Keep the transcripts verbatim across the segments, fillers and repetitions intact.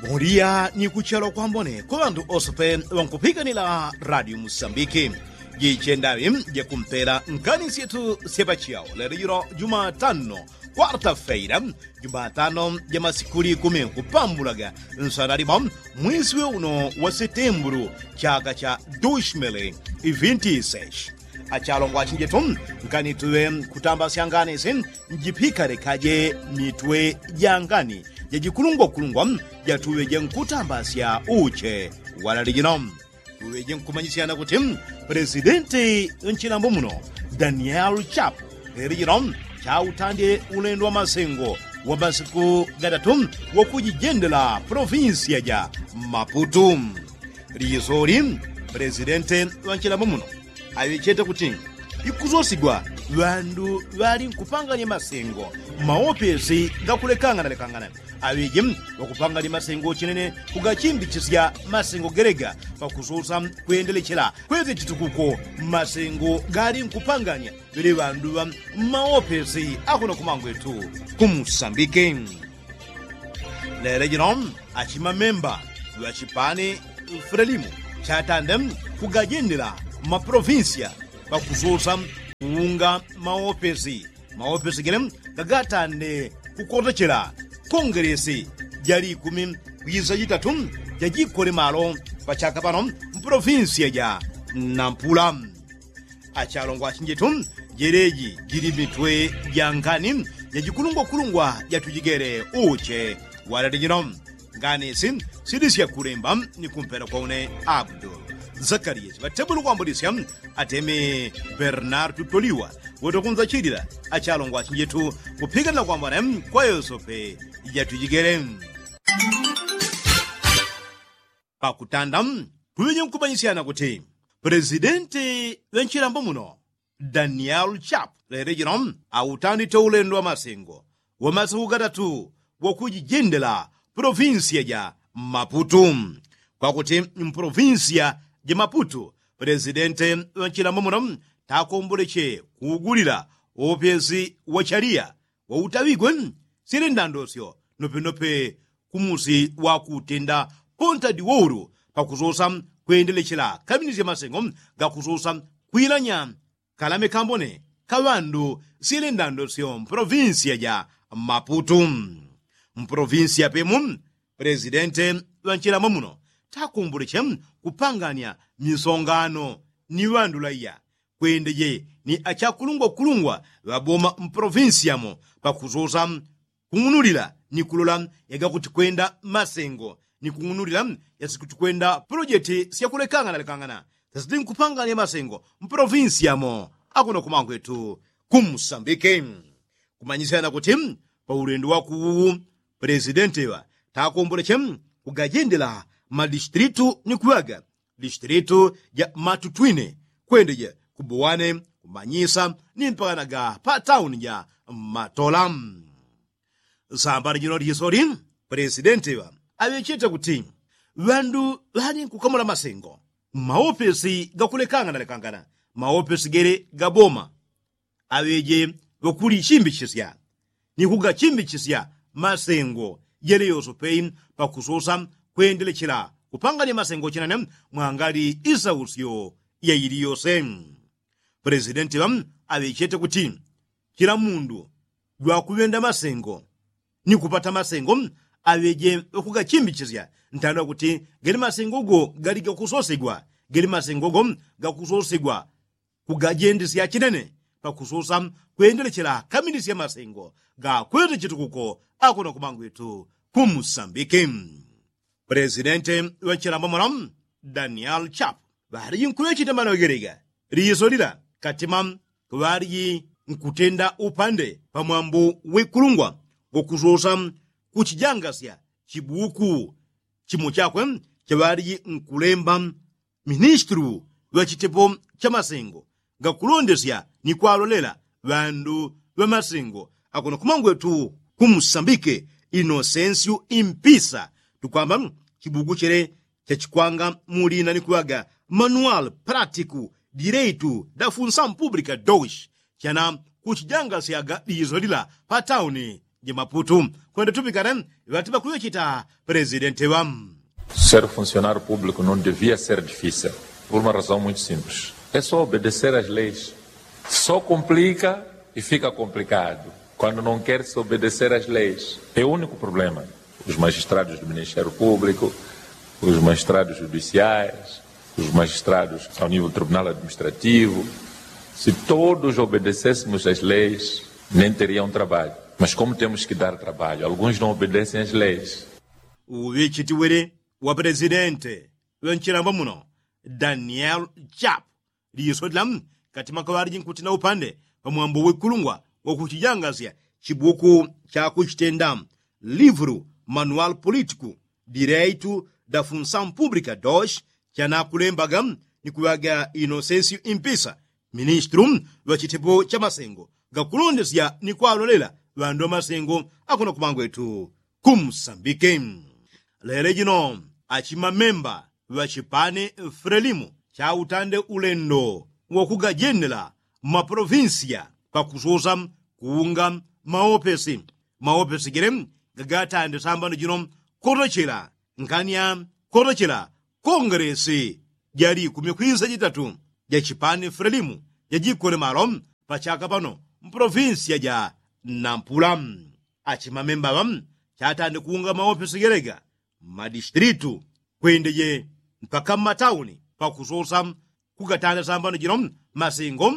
Bondia ni kuchelwa kwambone kwa ŵandu ose pe ŵankupikanila radio musambiki. Jichendaŵi jakumpela nkani syetu sya pachiyao lelo jilo jumatano, kwarta feira, jumatano ja masiku likumi kupambulaga nsana limo mwisi we uno wa setembulu, chaka cha dushmili ivinti seshi. Achalongwa achinjetu, nkani tuŵe kutambasya ngani si njipikale kaje mitwe ja ngani jajikulungwakulungwa jatuŵeje nkutambasya uche. Walali jino tuŵeje nkumanyisyana kuti, presidenti nchilambo muno, daniel chapu, leli jino chautandye ulendo wa masengo wa masiku gatatu wakujijendela polovinsiya ja maputu. Lisoli, presidenti ŵanchilambo muno aŵechete kuti ikusosigwa ŵandu ŵali nkupanganya masengo, maopesi gakulekanganalekangana aŵeje ŵakupanganya masengo chinene kugachimbichisya masengo gelega pakusosa kwendelechela kweze chitukuko. Masengo gali nkupanganya ŵele ŵandu ŵa mmaopesi akuno kumangwetu kumusambike. Lele jino achimamemba ŵachipani frelimu chatande kugajendela mapolovinsiya pakusosa kuunga maopesi. Maopesi gele gagatande kukotechela kongelesi ja likumi kwisa jitatu jajikole malo pachaka pano mpolovinsiya ja nampula. Achalongwa achinjetu, jeleji jili mitwe ja ngani jajikulungwakulungwa jatujigele uche. Walali jino ngani si sili sya kulemba ni kumpela kwa une abdul zakariya chiŵatebulu kwambulisya atemi bernardu toliwa wotokunza chilila. Achalongwa achinjetu kupikanila kwambone kwa yosope jatujigele. Pakutanda tuŵeje nkumanyisyana kuti, presidenti ŵanchilambo muno daniel chapu lele jino autandite ulendo wa masengo wa masiku gatatu wakujijendela polovinsiya ja maputu. Kwakuti mpolovinsiya ja maputu, presidenti ŵanchilambo muno takomboleche kuugulila opesi wa chaliya wautaŵigwe syele ndandosyo nopenope kumusi wakutenda ponta diwoulu pakusosa kwendelechela kaminisya masengo gakusosa kwilanya kalame kambone ka ŵandu syele ndandosyo mpolovinsiya ja maputu. Mpolovinsiya pemu, presidenti ŵanchilambo muno takomboleche kupanganya misongano ni ŵandu laiya kwendeje ni achakulungwakulungwa ŵaboma mpolovinsiya mo pakusosa kung'unulila ni kulola yagakutikwenda masengo ni kung'unulila yasikutikwenda polojeti syakulekanganalekangana sasiti nkupanganya masengo mpolovinsiya mo akuno kumangwetu kumusambike. Kumanyisyana kuti paulendo wakuwu, presidenti ŵa takomboleche kugajendela madistilitu ni kuŵaga distilitu ja matutwine kwendeje kubuwane kumanyisa ni mpakanaga pa tauni ja matola. Sambala jino lisoli, presidenti ŵa aŵechete kuti ŵandu ŵali nkukamula masengo mmaopesi gakulekanganalekangana, maopesi gele gaboma aŵeje ŵakulichimbichisya ni kugachimbichisya masengo jele yosope pakusosa kwendelechela kupanganya masengo chinene mwangali isausyo yaili yose. Presidenti ŵa aŵechete kuti chila mundu jwakuŵenda masengo ni kupata masengo aŵeje ŵakugachimbichisya ntanda kuti gele masengo go gali gakusosegwa gele masengo go gakusosegwa kugajendesya chinene pakusosa kwendelechela kaminisya masengo gakwete chitukuko akuno kumangwetu kumusambike. Presidenti ŵanchilambo muno daniel chapu ŵaliji nkuŵecheta mano gelega liso lila katima ŵaliji nkutenda upande pamwambo wekulungwa gokusosa kuchijangasya chibuku chimo chakwe chaŵaliji nkulemba ministulu ŵa chitepo cha masengo gakulondesya ni kwalolela ŵandu ŵa masengo akuno kumangwetu kumusambike inosensiu impisa tukwamba chibuku chele chachikwanga mulina ni kuŵaga manual pratiku direitu da funsamu publika doshi chana kuchijangasyaga liso lila pa tauni Jemaputu kwenda tupikane ŵatiŵa kuŵechita. Presidente ŵa. Ser funcionário público não devia ser difícil, por uma razão muito simples. É só obedecer às leis. Só complica e fica complicado quando não quer se obedecer às leis. É o único problema. Os magistrados do ministério público, os magistrados judiciais, os magistrados ao nível do tribunal administrativo, se todos obedecêssemos às leis, nem teriam trabalho. Mas como temos que dar trabalho, alguns não obedecem às leis. Uŵichitiwili wa presidente ŵa nchilambo muno, daniel chap, liso dila katima kaŵaliji nkutina upande pamwambo wikulungwa wakuchijangasya chibuku chakuchitenda livru manual politiku direitu da funsaun publika dos, chanakulembaga ni kuŵaga inosensio impisa, ministru ŵa chitepo cha masengo gakulondesya ni kwalolela ŵandu ŵa masengo akuna kumangwetu. Kumsambike lele jino achimamemba ŵa chipani frelimu cha utande ulendo wakugajenela mmaprovinsiya pakusosa kuunga maopesi. Maopesi gele gagatande sambano jino kotochela nkani ya kotochela kongelesi ja likumi kwisa jitatu ja chipani frelimu jajikole malo pachaka pano mprovinsiya ja nampula. Achimamemba ŵa chatande kuunga maopesi gele ga mmadistilitu kwendeje mpaka mmatauni pakusosa kugatanda sambano jino masengo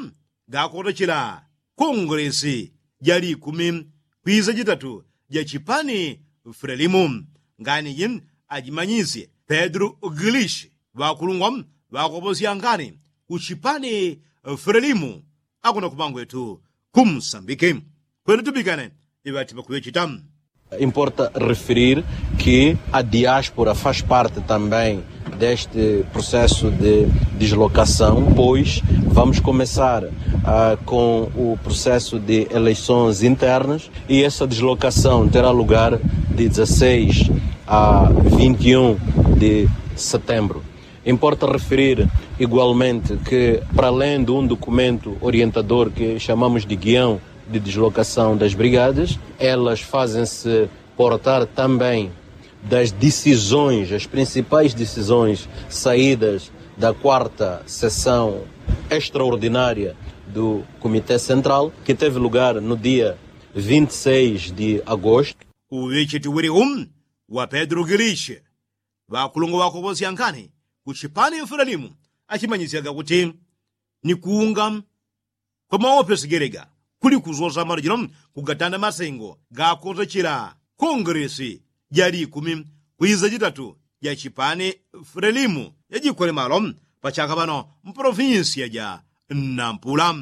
gakotochela kongelesi ja likumi kwisa jitatu ja chipani frelimu. Nganiji ajimanyisye pedro gilishi ŵakulungwa ŵakoposya ngani ku chipani frelimu akuna kumangwetu. Kumsambike kwenda tupikane iŵatiŵa kuŵechita. Importa referir que a diáspora faz parte também deste processo de deslocação, pois vamos começar com o processo de eleições internas e essa deslocação terá lugar de dezasseis a vinte e um de setembro. Importa referir igualmente que para além de um documento orientador que chamamos de guião de deslocação das brigadas, elas fazem-se portar também das decisões, as principais decisões saídas da quarta sessão extraordinária do comité central que teve lugar no dia vinte e seis de agosto. Uŵichitiwili um wa pedro gilishi ŵakulungwa ŵakoposya ngani ku chipani frelimu achimanyisyaga kuti ni kuunga kwa maopesi gele ga kuli kusosa malo jino kugatanda masengo gakotochela kongelesi ja likumi kwisa jitatu ja chipani frelimu jajikole malo pachaka pano mpolofinsiya ja nampula.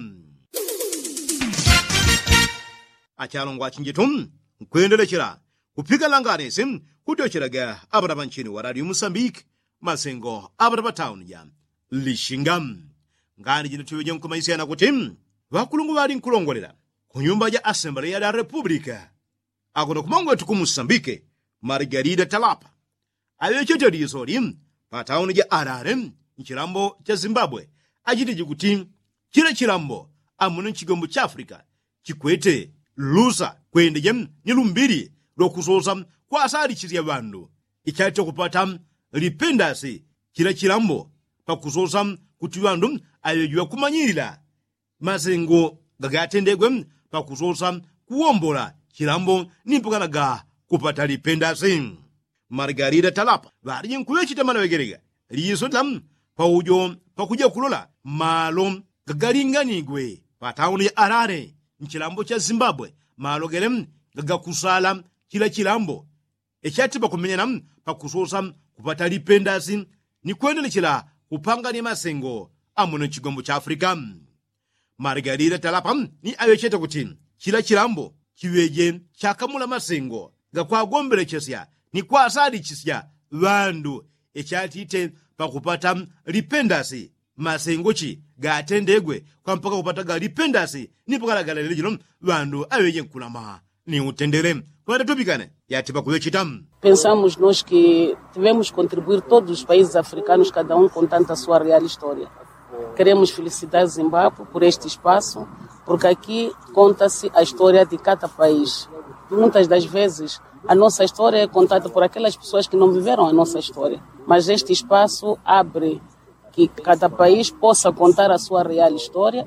Achalongwa achinjitu nkwendelechela kupika langanisi kutyochelaga apanapa nchini wa radio musambiki masengo apanapa tauni ja lishinga. Ngani jino tiŵeje nkumaisya na kuti ŵakulungwa ŵali nkulongolela ku nyumba ja asembleya la repupulika akuno kumangwetu ku musambike margarida talapa aŵechete lisoli pa tauni ja alale nchilambo cha zimbabwe achitije kuti chila chilambo amuno nchigombo cha afrika chikwete lusa kwendeje ni lumbili lwakusosa kwasalichisya ŵandu ichati kupata lipendasi chila chilambo pakusosa kuti ŵandu aŵejiŵa kumanyilila masengo gagatendegwe pakusosa kuwombola chilambo ni mpakana ga kupata lipendasi. Margarida talapa ŵaliji nkuŵechita manaŵegelega liso la paujo pakuja kulola malo gagalinganigwe pa tauni ya alale nchilambo cha zimbabwe malo gele gagakusala chila chilambo ichati pakumenyana pakusosa kupata lipendasi ni kwendelechela kupangania masengo amuno nchigombo cha afrika. Margarida talapa ni aŵechete kuti chila chilambo chiŵeje chakamula masengo gakwagombelechesya ni kwasalichisya ŵandu ichatite pakupata lipendasi masengo chi gatendegwe kwa mpaka kupataga lipendasi ni pakalagalelele jino ŵandu aŵeje nkulama ni utendele. Kwenda tupikane yati pakuŵechita. Pensamos nos que tivemos contribuir todos os países africanos cada um contando a sua real história. Queremos felicitar zimbabwe por este espaço, porque aqui conta-se a história de cada país. Muitas das vezes a nossa história é contada por aquelas pessoas que não viveram a nossa história, mas este espaço abre que cada país possa contar a sua real história,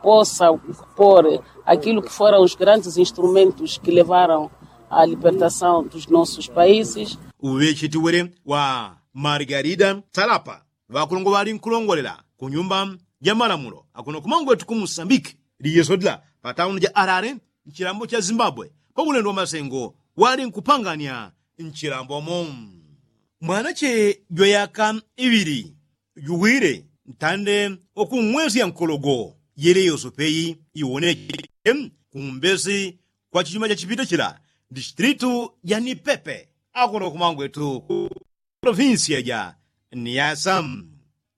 possa pôr aquilo que foram os grandes instrumentos que levaram à libertação dos nossos países. Uŵecheti wele wa margarida salapa ŵakulongo ŵali nkulongolela ku nyumba ja malamulo akuno kumangwetu ku musambiki liyeso dila pa tauni ja alale nchilambo cha zimbabwe pa ulendo wa masengo wali nkupangania nchilambomo. Mwanache jwa yaka iŵili juwile ntande wa kung'wesya nkologo yele yosopeyi iwoneche kumbesi kwa chichuma cha chipita chila distritu ja nipepe akuno kumangwetu ku provinsia ja niasa.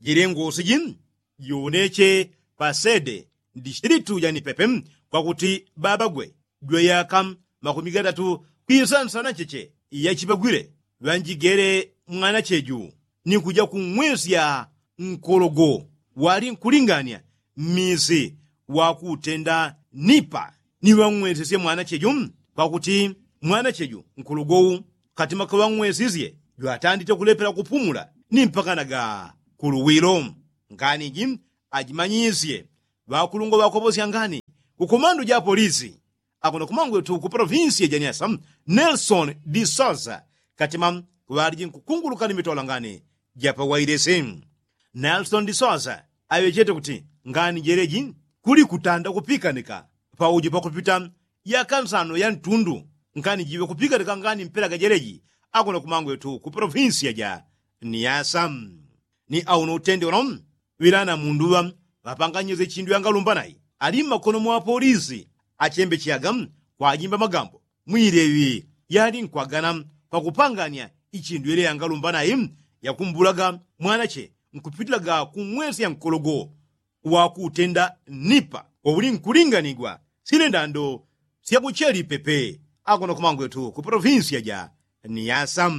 Jele ngosi ji jiwoneche pa sede distritu ja nipepe kwakuti babagwe jwa yaka makumi gatatu kwisansana cheche yachipagwile ŵanjigele mwanacheju ni kuja kung'wesya nkologo wali nkulingania mmisi wa kutenda nipa ni ŵang'wesesye mwanacheju kwakuti mwanacheju nkologowu katima kaŵang'wesisye jwatandite kulepela kupumula ni mpakanaga kuluwilo. Ngani ji ajimanyisye ŵakulungwa ŵakoposya ngani ku komandu ja polisi akuno kumangwetu ku provinsia ja niasa nelson de sousa katima ŵaliji nkukunguluka ni mitola ngani ja pawailesi. Nelson de sousa aŵechete kuti ngani jeleji kuli kutanda kupikanika paujo pakupita yaka nsano ya ntundu ngani jiŵe kupikanika ngani mpela ga jeleji akuno kumangwetu ku provinsia ja niasa. Ni auno utende uno ŵilana mundu ŵa ŵapanganyise chindu yangalumbanayi ali mmakono mwa polisi achembecheyaga kwajimba magambo mwileŵi yali nkwagana pakupangania ichindu yele yangalumbanayi yakumbulaga mwanache nkupitilaga kung'wesya nkologo wakutenda nipa wauli nkulinganigwa sile ndando syakucheli pepe akuno kumangwetu ku provinsia ja niasa.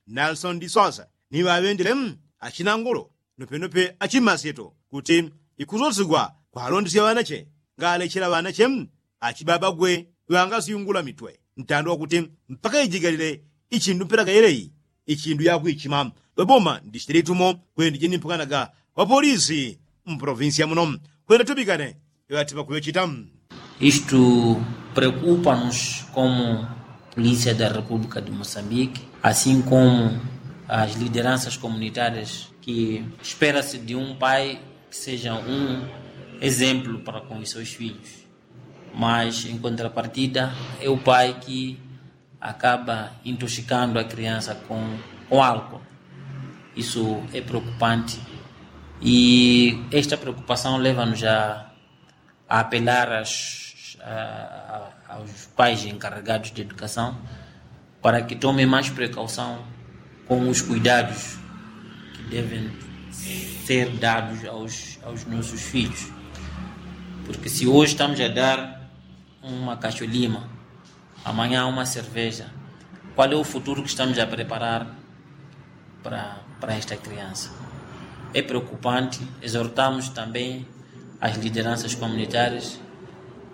Nelson de sousa ni ŵaŵendele achinangolo nopenope achimasyeto kuti ikusosigwa kwalondesya ŵanache ngalechela ŵanache achibabagwe ŵangasyungula mitwe ntando wakuti mpaka ijigalile ichindu mpela gayeleyi ichindu yakwichima ŵaboma ndishitile itumo kwenda jini mpakanaga ŵapolisi mprovinsia muno kwenda tubikane ŵatipa kuŵechita. Istu preokupa-nos komu polícia da república de moçambique, assim komu as lideranças comunitárias ki espera-se de um pai que seja um exemplo para com os seus filhos. Mas em contrapartida é o pai que acaba intoxicando a criança com álcool. Isso é preocupante. E esta preocupação leva-nos a apelar aos pais encarregados de educação para que tomem mais precaução com os cuidados que devem ser dados aos nossos filhos. Porque se hoje estamos a dar uma cacholima, amanhã uma cerveja, qual é o futuro que estamos a preparar para esta criança? É preocupante. Exortamos também as lideranças comunitárias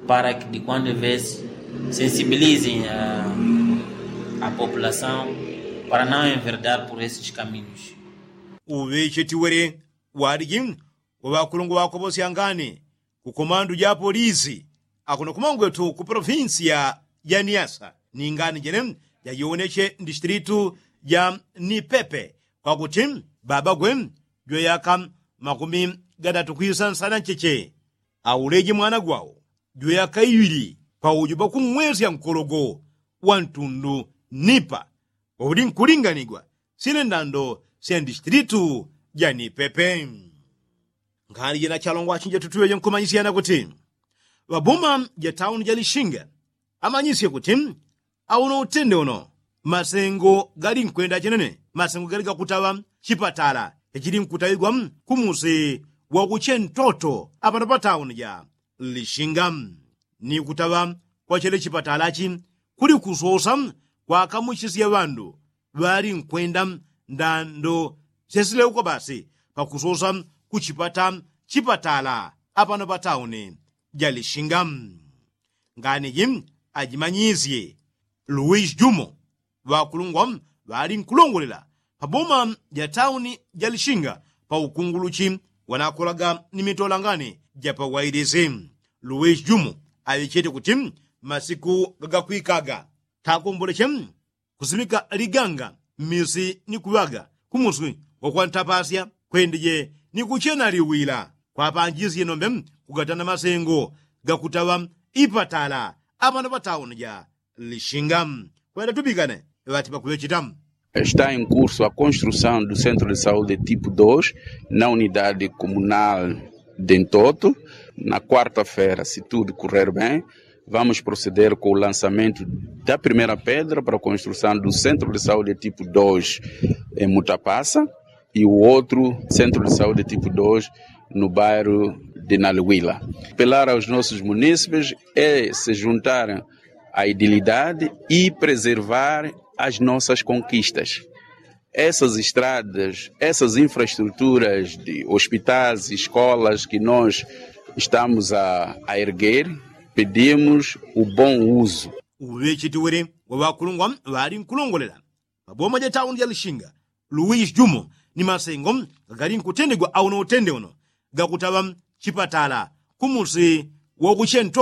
para que de quando em vez sensibilizem a população para não enverdar por esses caminhos. Uŵecheti wele waliji waŵakulungwa ŵakoposya ngani ku komandu ja polisi akuno kumangwetu ku provinsia ja niasa ni ngani jene jajiwoneche ndishitilitu ja nipepe kwakuti babagwe jwa yaka makumi gatatu kwisansana ncheche auleje mwana gwawo jwa yaka iŵili paujo pakung'wesya nkologo wa ntundu nipa wauli nkulinganigwa sine ndando sya ndishitilitu ja nipepe. Ngani jina chalongwa achinja tutuŵeje nkumanyisyana kuti ŵabuma ja tauni ja lishinga amanyisye kuti auno utende uno masengo gali nkwenda chenene masengo gali gakutaŵa chipatala chachili nkutaŵigwa kumusi wakuche ntoto apano pa tauni ja lishinga ni kutaŵa kwa chele chipatala chi kuli kusosa kwakamuchisya ŵandu ŵali nkwenda ndando syasileuka basi pakusosa kuchipata chipatala apano pa tauni ja lishinga. Ngani ji ajimanyisye Luwisi jumo ŵakulungwa ŵali nkulongolela pa boma ja tauni ja lishinga pa ukunguluchi wanakolaga ni mitolangane ja pawailisi. Luwisi jumo aŵechete kuti masiku gagakwikaga takomboleche kusimika liganga mmisi ni kuŵaga kumusi wakwantapasya kwendeje ni kuchena liwila kwapanjisye nombe kugatana masengo gakutaŵa ipatala apano patauni ja lishinga. Kwenda tupikane ŵati pakuŵecheta. Está em curso a construção do centro de saúde tipo dois na unidade comunal de Ntoto. Na quarta-feira, se tudo correr bem, vamos proceder com o lançamento da primeira pedra para a construção do centro de saúde tipo dois em Mutapasa e o outro centro de saúde tipo dois no bairro de Naliwila. Apelar aos nossos munícipes é se juntarem à idilidade e preservar as nossas conquistas. Essas estradas, essas infraestruturas de hospitais, escolas que nós estamos a, a erguer, pedimos o bom uso. Uŵechetiwele wa ŵakulungwa ŵali nkulongolela pa boma ja tauni ja lishinga luwisi jumo ni masengo gagali nkutendegwa auno utende uno gakutaŵa chipatala kumusi wakuchento